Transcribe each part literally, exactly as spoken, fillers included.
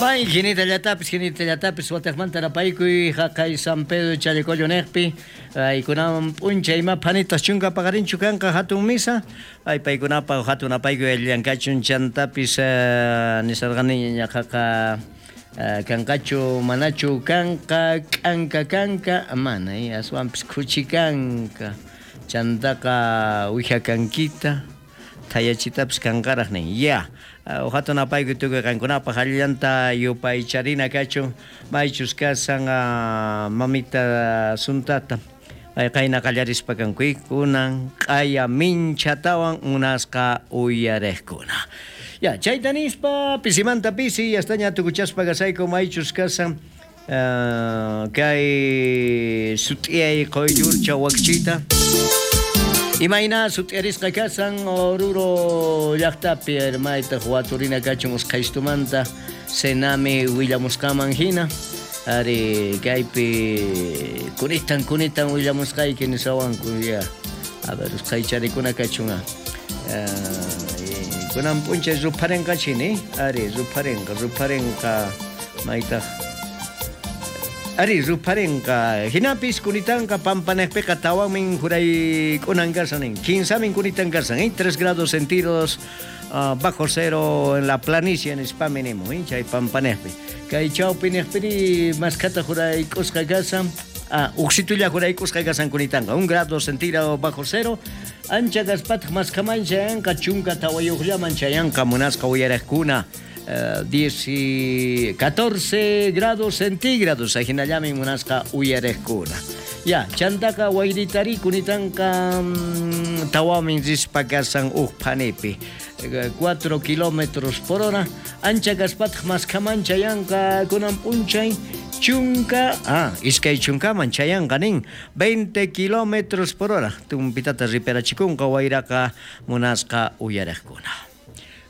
May jinita llatapis, jinita llatapis, watejmanta napaykuy jaqay San Pedro Challacollo neqpi, aykunaman p'unchay ima phanitas chunka paqarinchu kanqa hatun misa, ay paykunapa hatun apaykuy allankachun chantapis uh, nisarqaniña ñaqaqa uh, kanqachu manachu kanqa k'anka kanka mana eh, aswanpis khuchi kanka chantaqa wija kankita thayachitapis kanqaraq nin ya. Hatun apaykuy tukuy qankunapaq allillanta yupaycharina kachun maychus kasan uh, mamita suntata ay qayna qallarispa kankuy kunan q'aya minchatawan munasqa uyariqkuna. Ya, chayta nispa pisimanta pisi yastaña tukuchaspa kasayku maychus kasan uh, kay sut'iyay quyllurcha wakchita. Imayna sut'iyarisqa kasan Oruro llaqtapi hermaytaq waturina kachun usqhaystumanta Senami willamusqaman hina ari kaypi kunitan kunitan willamusqayki nisawanku ya. A ver, usqhaycharikuna kachun uh, kunan p'unchay rupharinqachini ari rupharinqa rupharinqa maytaq ari rupharinqa hinapis kunitanqa pampanejpiqa tawanmin jurayk'unan kasan nin quinsamin kunitan kasan eh? tres grados centígrados uh, bajo cero en la planicie en Spaminimo eh? Chay pampanejpi kay chawpinejpiri maskhata jurayk'usqa kasan ah, uqsitulla jurayk'usqa kasan kunitanqa un grado centígrado bajo cero ancha kaspataq maskhaman chayanqa chunka tawayuqllaman chayanqa munasqa uyariqkuna Uh, diez y catorce grados centígrados ajinallamin munasqa uyariqkuna. Ya, chantaqa wayritari kunitanqa mm, tawamin rispa kasan uj phanipi cuatro kilómetros por hora ancha kaspataq maskhaman chayanqa kunan p'unchay chunka, ah, iskay chunkaman chayanqa nin veinte kilómetros por hora tumpitata riperachikunqa wayraqa munasqa uyariqkuna.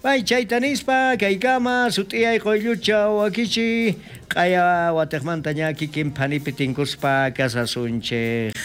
Bay chayta nispa kaykama sut'iyay quyllucha wakichi q'aya watejmanta ña kikin phanipi tinkuspa kasasunchej.